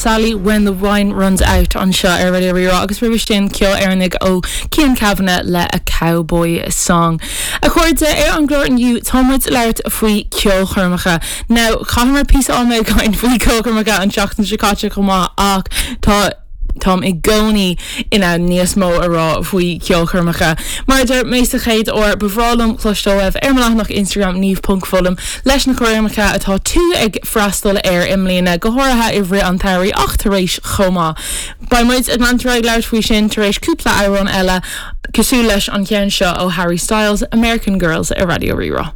Sally When the Wine Runs Out anseo ar Raidió Rí-Rá agus roimhe sin ceol Éireannaigh ó Cian Kavanagh le A Cowboy Song. A chairde, ar an gclár inniu tá muid ag labhairt faoi ceolchoirmeacha. Now, chaitheamar píosa ama ag caint faoi ceolchoirmeacha an tseachtain seo caite chomh maith ach tá Táim i gcónaí in ann níos mó a rá faoi cheolchoirmeacha. Mar a deir mé sa chéad uair, ba bhreá liom cloisteáil uaibh ar mo leathanach Instagram niamh.fullam leis na coirmeacha atá tú ag freastal air i mbliana, go háirithe i rith an tsamhraidh ach tar éis chomh maith. Beidh muid ag leanúint ar aghaidh ag labhairt faoi sin tar éis cúpla amhrán eile, cosúil leis an cheann seo ó Harry Styles, American Girls ar Raidió Rí-Rá.